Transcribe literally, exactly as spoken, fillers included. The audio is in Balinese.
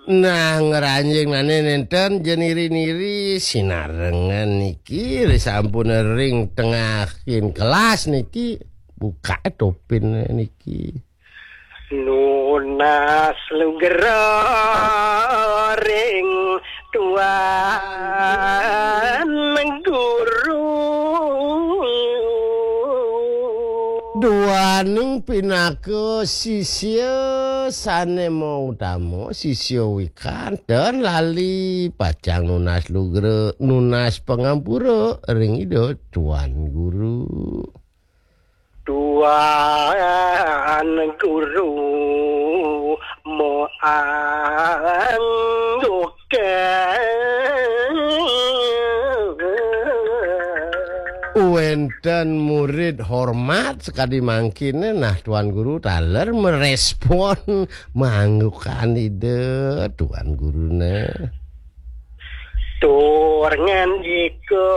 Nah, ngranjing nane nenten jeniri-niri sinarengan niki, ri sampun ring tengahing kelas niki, buka topin niki. Nunas lugra ring Tuan Guru. Duaning pinaka sisya sane mautama, sisya wikan, ten lali pacang nunas lugra, nunas pangampura ring Ida Tuan Guru. Tuan Guru moangguke. Wenten murid hormat sakadi mangkine, nah, Tuan Guru taler merespon manggukan Ida Tuan Gurune. Tur ngandika.